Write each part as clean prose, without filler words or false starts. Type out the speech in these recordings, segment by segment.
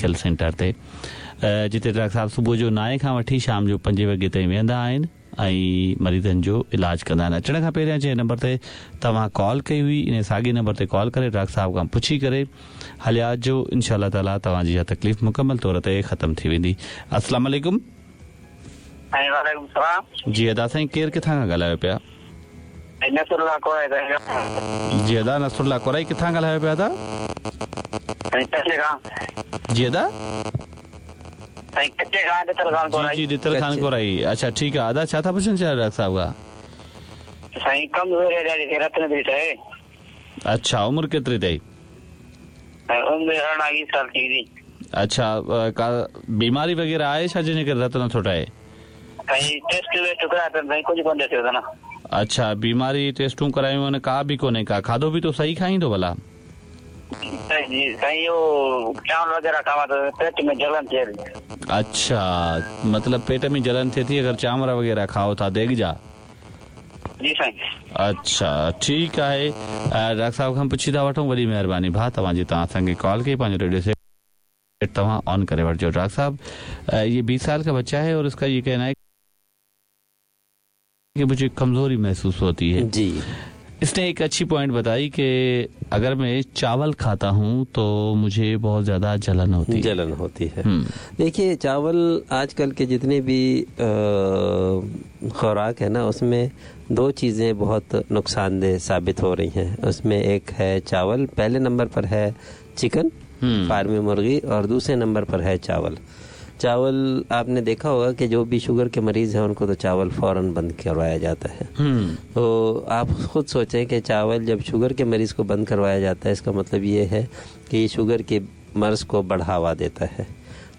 لکيل سينٽر تي جتي ڊاڪٽر صاحب صبح جو نائين کان وٺي شام جو پنجين وڳي تائين ويهندا آهن ۽ مريضن جو علاج ڪندا آهن. اچڻ کان پهريان جنهن نمبر تي توهان ڪال ڪئي هئي انهي ساڳي نمبر تي ڪال ڪري ڊاڪٽر صاحب کان پڇي ڪري هليا اچجو انشاء الله تعالي توهان جي اها تڪليف مڪمل طور تي ختم ٿي ويندي. السلام عليڪم. سائين وعليڪم السلام. جي ادا سائين ڪير ڪٿان کان ڳالهايو پيا. سائين نصر الله ڪورائي سائين. جي ادا نصر الله ڪورائي ڪٿان ڳالهايو پيا ادا. سائين ڪچي کان. جي ادا. سائين ڪچي کان ڏتل خان ڪورائي. جي جي ڏتل خان ڪورائي اڇا ٺيڪ آ ادا ڇا ٿا پڇڻ چاهيو ڊاڪٽر صاحب کان. سائين ڪمزوري آ ڏاڍي رت نٿي ٺهي. اڇا عمر ڪيتري اٿئي. سائين عمر 18 20 سال ٿي ويندي. اڇا ڪا بيماري وغيره آهي ڇا جنهن جي ڪري رت نٿو ٺهي. سائين ٽيسٽ ويسٽ ڪرايا اٿن سائين ڪجهه ڪونه ڏسيو اٿن. اڇا بيماري ٽيسٽون ڪرايون آهن ڪا به ڪونهي ڪا کاڌو پيتو صحيح کائين ٿو ڀلا. جي سائين اهو چانور وغيره کاوان ته پيٽ ۾ جلن ٿئي ٿي. اڇا مطلب پيٽ ۾ جلن ٿئي ٿي اگر چانور وغيره کائو ٿا ديڳ جا. جي سائين. اڇا ٺيڪ آهي ڊاڪٽر صاحب کان پڇي ٿا وٺون وڏي مهرباني ڀاء توهان جي توهان اسان کي ڪال ڪئي پنهنجو ريڊيو سيٽ توهان آن ڪري وٺجو ڊاڪٽر صاحب ये 20 साल का बच्चा है और इसका ये कहना है कि मुझे कमजोरी महसूस होती है। जी। इसने एक अच्छी पॉइंट बताई कि अगर मैं चावल खाता हूँ तो मुझे बहुत ज़्यादा जलन होती है। जलन होती है। देखिए चावल आजकल के जितने भी खुराक है ना उसमें दो चीज़ें बहुत नुकसानदेह साबित हो रही हैं। उसमें एक है चावल, पहले नंबर पर है चिकन फार्मी मुर्गी और दूसरे नंबर पर है चावल। चावल आपने देखा होगा कि जो भी शुगर के मरीज़ हैं उनको तो चावल फ़ौरन बंद करवाया जाता है। तो आप ख़ुद सोचें कि चावल जब शुगर के मरीज़ को बंद करवाया जाता है इसका मतलब ये है कि ये शुगर के मर्ज़ को बढ़ावा देता है।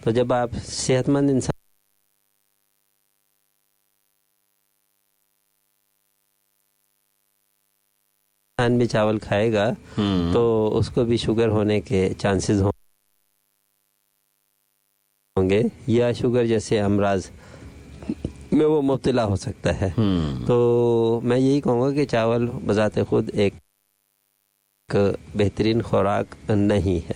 तो जब आप सेहतमंद इंसान भी चावल खाएगा तो उसको भी शुगर होने के चांसेस होंगे या शुगर जैसे अमराज में वो मुब्तला हो सकता है। तो मैं यही कहूँगा कि चावल बजाते खुद एक बेहतरीन खुराक नहीं है,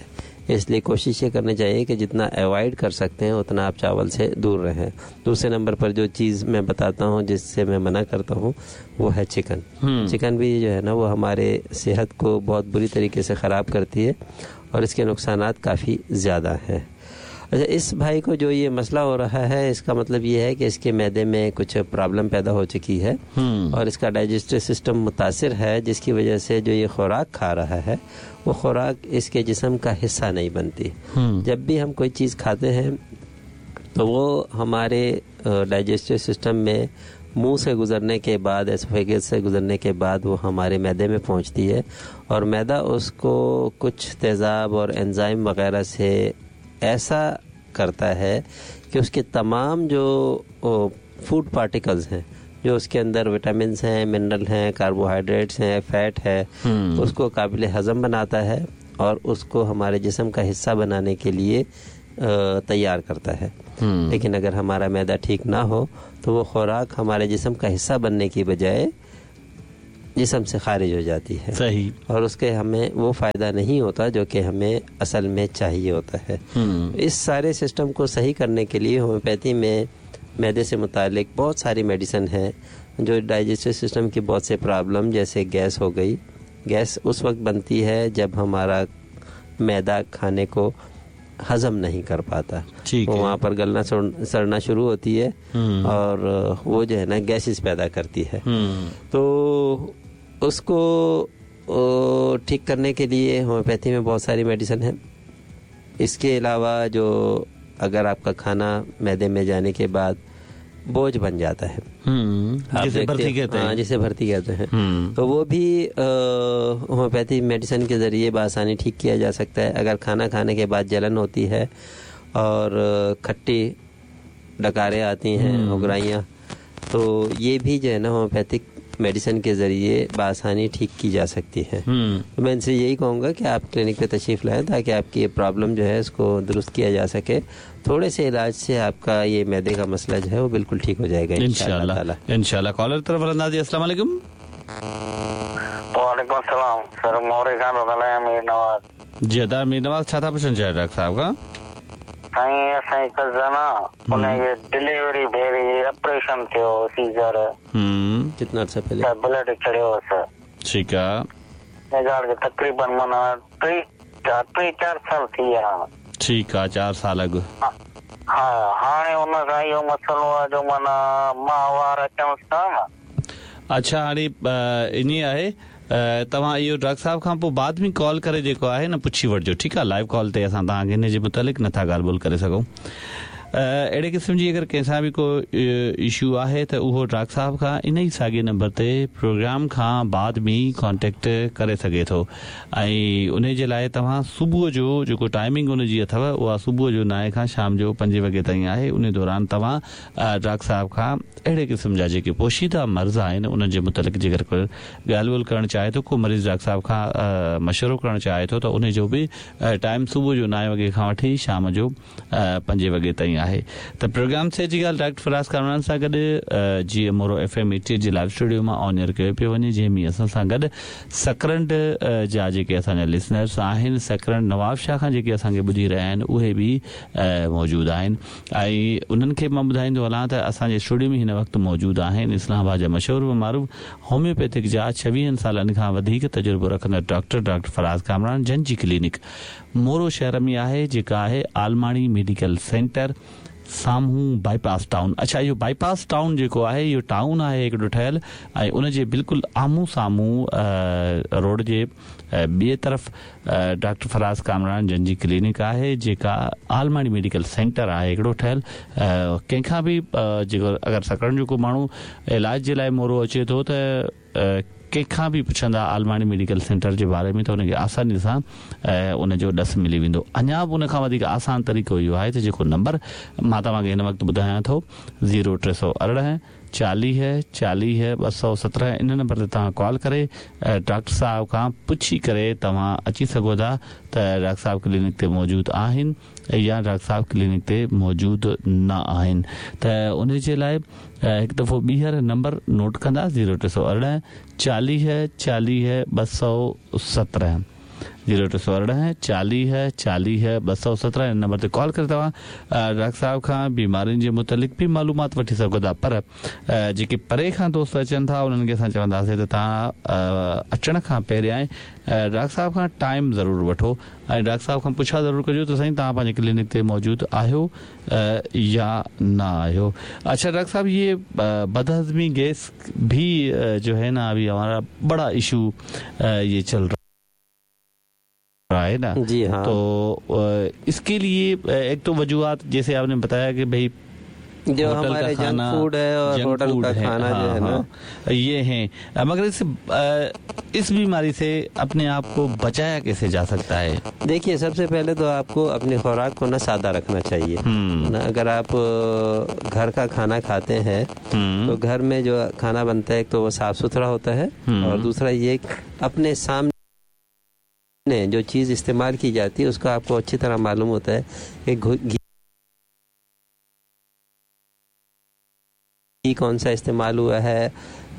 इसलिए कोशिश ये करनी चाहिए कि जितना अवॉइड कर सकते हैं उतना आप चावल से दूर रहें। दूसरे नंबर पर जो चीज़ मैं बताता हूँ जिससे मैं मना करता हूँ वो है चिकन। चिकन भी जो है ना वो हमारे सेहत को बहुत बुरी तरीके से ख़राब करती है और इसके नुकसानात काफ़ी ज़्यादा हैं। अच्छा, इस भाई को जो ये मसला हो रहा है इसका मतलब ये है कि इसके मैदे में कुछ प्रॉब्लम पैदा हो चुकी है और इसका डाइजेस्टिव सिस्टम मुतासिर है, जिसकी वजह से जो ये खुराक खा रहा है वो खुराक इसके जिस्म का हिस्सा नहीं बनती। जब भी हम कोई चीज़ खाते हैं तो वो हमारे डाइजेस्टिव सिस्टम में मुंह से गुज़रने के बाद, एसोफेगस से गुज़रने के बाद वो हमारे मैदे में पहुंचती है और मैदा उसको कुछ तेज़ाब और एंजाइम वगैरह से ऐसा करता है कि उसके तमाम जो फूड पार्टिकल्स हैं, जो उसके अंदर विटामिन्स हैं, मिनरल हैं, कार्बोहाइड्रेट्स हैं, फैट है, उसको काबिल हज़म बनाता है और उसको हमारे जिस्म का हिस्सा बनाने के लिए तैयार करता है। लेकिन अगर हमारा मैदा ठीक ना हो तो वो खुराक हमारे जिस्म का हिस्सा बनने की बजाय जिस्म से खारिज हो जाती है। सही। और उसके हमें वो फ़ायदा नहीं होता जो कि हमें असल में चाहिए होता है। इस सारे सिस्टम को सही करने के लिए होम्योपैथी में मैदे से मुतालिक बहुत सारी मेडिसिन है जो डाइजेस्टिव सिस्टम की बहुत से प्रॉब्लम जैसे गैस हो गई, गैस उस वक्त बनती है जब हमारा मैदा खाने को हज़म नहीं कर पाता, वो वहाँ पर गलना सड़ना शुरू होती है और वो जो है ना गैसेस पैदा करती है। तो उसको ठीक करने के लिए होम्योपैथी में बहुत सारी मेडिसिन है। इसके अलावा जो अगर आपका खाना मैदे में जाने के बाद बोझ बन जाता है, जिसे भर्ती कहते हैं, हाँ, जिसे भर्ती कहते हैं, तो वो भी होम्योपैथी मेडिसिन के ज़रिए बआसानी ठीक किया जा सकता है। अगर खाना खाने के बाद जलन होती है और खट्टी डकारें आती हैं, उगराइयाँ, तो ये भी जो है ना होम्योपैथिक मेडिसिन के ज़रिए बआसानी ठीक की जा सकती है। तो मैं इनसे यही कहूँगा कि आप क्लिनिक पे तशरीफ़ लाएँ ताकि आपकी ये प्रॉब्लम जो है इसको दुरुस्त किया जा सके। थोड़े से इलाज से आपका ये मैदे का मसला जो है वो बिल्कुल ठीक हो जाएगा इंशाअल्लाह। इंशाअल्लाह। कॉलर तरफ अंदाज़ी। अस्सलाम वालेकुम। वालेकुम अस्सलाम सर, मोरे खान मीर नवाज़। जी अदा मीर नवाज़, छा था पुछणु चाहियो डॉक्टर साहब खां? साईं असांजी कज़न आहे उनजे डिलीवरी भेरी ऑपरेशन थियो सीजर। कितना अर्सा पहले? त ब्लड चढ़ियो हुअसि। ठीकु आहे। ॻाल्हि तक़रीबन माना 3-4 साल थी विया हाणे। ठीकु आहे, 4 साल अॻु। हा, हाणे उन सां इहो मसइलो आहे जो माना माहवार अचनि था न। अच्छा, हाणे इन आहे तव्हां इहो डॉक्टर साहिब खां पोइ बाद में कॉल करे जेको आहे न पुछी वठिजो, ठीकु आहे? लाइव कॉल ते असां तव्हांखे हिन जे मुतालिक़ नथा ॻाल्हि ॿोल करे सघूं। अहिड़े क़िस्म जी अगरि कंहिंसां बि को इशू आहे त उहो डॉक्टर साहिब खां इन ई साॻे नंबर ते प्रोग्राम खां बाद में कॉन्टेक्ट करे सघे थो। ऐं उन जे लाइ तव्हां सुबुह जो जेको टाइमिंग उनजी अथव उहा सुबुह जो 9 खां शाम जो 5 वॻे ताईं आहे। उन दौरान तव्हां डॉक्टर साहिब खां अहिड़े क़िस्म जा जेके पोशीदा मर्ज़ आहिनि उन्हनि जे मुतालिक़ जेकर को ॻाल्हि ॿोल करणु चाहे थो, को मरीज़ डॉक्टर साहिब खां मशवरो करणु चाहे थो त उन जो बि टाइम सुबुह जो 9 वॻे खां वठी शाम जो 5 वॻे ताईं आहे। त प्रोग्राम से जी ॻाल्हि डॉक्टर फराज़ कामरान सां गॾु जीअं मोरो FM 88 जे लाइव स्टूडियो मां ऑन एयर कयो पियो वञे, जंहिं में असां सां गॾु सकरंड जा जेके असांजा लिसनर्स आहिनि, सकरंड नवाब शाह खां जेके असांखे ॿुधी रहिया आहिनि उहे बि मौजूदु आहिनि। ऐं उन्हनि खे मां ॿुधाईंदो हलां त असांजे स्टूडियो में हिन वक़्तु मौजूदु आहिनि इस्लामाबाद जा मशहूर व मारूफ़ होम्योपैथिक जा 26 सालनि खां वधीक तजुर्बो रखंदड़ डॉक्टर डॉक्टर फराज़ कामरान, जन जी क्लिनिक मोरो शहर में आहे, जेका आहे आलमाणी मेडिकल सेंटर साम्हूं बाईपास टाउन। अच्छा, इहो बाईपास टाउन जेको आहे इहो टाउन आहे हिकिड़ो ठहियल ऐं उनजे बिल्कुलु आम्हूं साम्हूं रोड जे ॿिए तरफ़ डॉक्टर फराज़ कामरान जन जी क्लिनिक आहे, जेका आलमाणी मेडिकल सेंटर आहे हिकिड़ो ठहियल। कंहिंखां बि जेको अगरि सकरंड जो को माण्हू इलाज जे लाइ मोरो अचे थो त कंहिंखां बि पुछंदा आलमाणी मेडिकल सेंटर जे बारे में त हुनखे आसानी सां उनजो ॾस मिली वेंदो। अञा बि उन खां वधीक आसान तरीक़ो इहो आहे त जेको नंबर मां तव्हांखे हिन वक़्तु ॿुधायां थो 0318 40 40 217, इन नंबर ते तव्हां कॉल करे डॉक्टर साहिब खां पुछी करे तव्हां अची सघो था त डॉक्टर साहिब क्लिनिक ते मौजूदु आहिनि या डॉक्टर साहिब क्लिनिक ते मौजूदु न आहिनि। त उन जे लाइ हिकु दफ़ो ॿीहर नंबर नोट कंदा 0318 40 40 217, 0318 40 40 217, हिन नंबर ते कॉल करे तव्हां डॉक्टर साहिब खां बीमारियुनि जे मुतालिक़ बि मालूमात वठी सघो था। पर जेके परे खां दोस्त अचनि था उन्हनि खे असां चवंदासीं त तव्हां अचण खां पहिरियां डॉक्टर साहिब खां टाइम ज़रूरु वठो ऐं डॉक्टर साहिब खां पुछा ज़रूरु कजो त साईं तव्हां पंहिंजे क्लिनिक ते मौजूदु आहियो या न आहियो। अच्छा डॉक्टर साहब, ये बदहज़मी गैस भी जो है ना अभी हमारा बड़ा इशू ये चल रहा है ना। जी हाँ। तो इसके लिए एक तो वजूहत जैसे आपने बताया कि भाई जो हमारे जंक फूड है और होटल का खाना जो है ना ये है, मगर इस बीमारी से अपने आप को बचाया कैसे जा सकता है? देखिए, सबसे पहले तो आपको अपनी खुराक को ना सादा रखना चाहिए ना। अगर आप घर का खाना खाते हैं तो घर में जो खाना बनता है एक तो वो साफ सुथरा होता है और दूसरा ये अपने सामने जो चीज़ इस्तेमाल की जाती है उसका आपको अच्छी तरह मालूम होता है कि घी कौन सा इस्तेमाल हुआ है,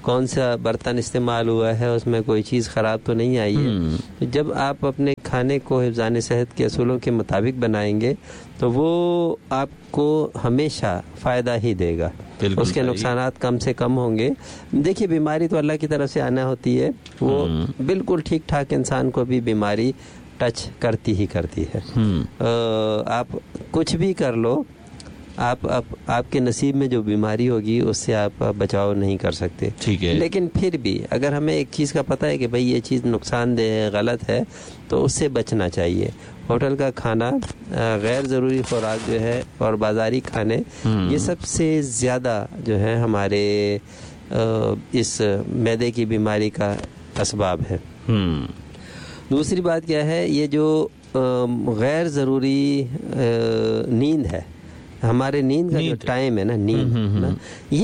कौन सा बर्तन इस्तेमाल हुआ है, उसमें कोई चीज़ ख़राब तो नहीं आई है। तो जब आप अपने खाने को हिफ्ज़ान सेहत के असूलों के मुताबिक बनाएंगे तो वो आपको हमेशा फ़ायदा ही देगा, उसके नुकसानात कम से कम होंगे। देखिए, बीमारी तो अल्लाह की तरफ से आना होती है, वो बिल्कुल ठीक ठाक इंसान को भी बीमारी टच करती ही करती है। आप कुछ भी कर लो, आप आपके नसीब में जो बीमारी होगी उससे आप बचाव नहीं कर सकते। ठीक है। लेकिन फिर भी अगर हमें एक चीज़ का पता है कि भाई ये चीज़ नुकसानदेह है, गलत है, तो उससे बचना चाहिए। होटल का खाना, गैर ज़रूरी खुराक जो है और बाज़ारी खाने, ये सबसे ज़्यादा जो है हमारे इस मैदे की बीमारी का असबाब है। दूसरी बात क्या है, ये जो गैर ज़रूरी नींद है, हमारे नींद का जो टाइम है ना, नींद ना, ये